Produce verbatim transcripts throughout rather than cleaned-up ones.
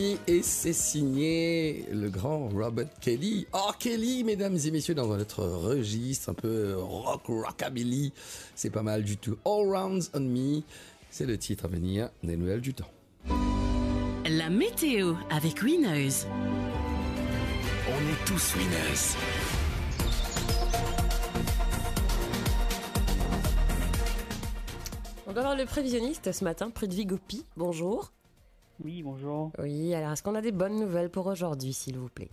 Et c'est signé le grand Robert Kelly. R. Kelly, mesdames et messieurs, dans un autre registre, un peu rock, rockabilly. C'est pas mal du tout. All Rounds on Me, c'est le titre à venir des nouvelles du temps. La météo avec Winners. On est tous winners. On doit avoir le prévisionniste ce matin, Prithvi Gopi. Bonjour. Oui, bonjour. Oui, alors est-ce qu'on a des bonnes nouvelles pour aujourd'hui, s'il vous plaît ?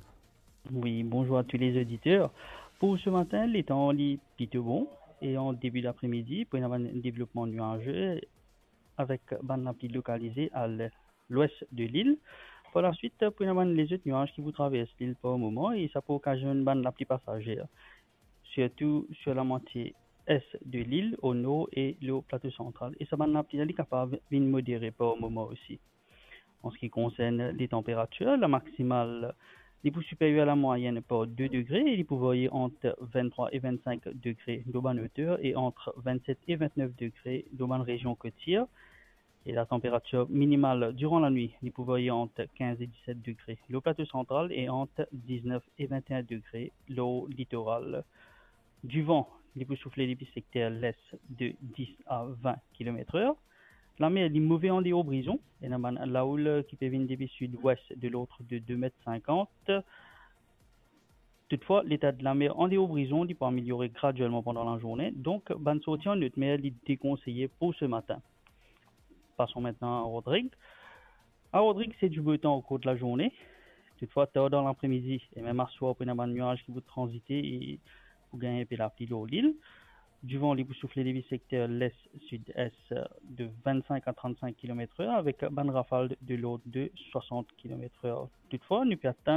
Oui, bonjour à tous les auditeurs. Pour ce matin, le temps est plutôt bon et en début d'après-midi, pour avoir un développement nuageux avec bann lapli localisé à l'ouest de l'île. Par la suite, pour avoir les autres nuages qui vous traversent l'île par moment et ça peut occasionner bann lapli passagère, surtout sur la moitié est de l'île, au nord et le plateau central. E sa bann lapli la, li kapav vinn modere par moment aussi. En ce qui concerne les températures, la maximale, li pou supérieure à la moyenne par deux degrés, e li pou varier entre vingt-trois et vingt-cinq degrés dans bann hauteur et entre vingt-sept et vingt-neuf degrés dans bann région côtière. Et la température minimale durant la nuit, li pou varier entre quinze et dix-sept degrés le plateau central et entre dix-neuf et vingt et un degrés le littoral. Du vent, li pou soufle depi secteur l'est de dix à vingt kilomètres heure. La mer, li move an deor Brison, ena bann laoul ki pe vinn depi sud-ouest de l'ordre de deux mètres cinquante. Toutefois, l'état de la mer an deor Brison, li pou ameliore graduellement pendant la journée. Donc, bann sorti an haute mer, li déconseillé pour ce matin. Passons maintenant à Rodrigues. À Rodrigues, c'est du beau temps au cours de la journée. Toutefois, tard dans l'après-midi et même à soir, pou ena bann nuaz ki pou tranzite e pou gagn inpe lapli lor lil. Du vent, li pou soufle depi secteur l'est-sud-est de vingt-cinq à trente-cinq kilomètres heure avec bann rafal de l'ordre de soixante kilomètres heure. Toutefois, nou pe atann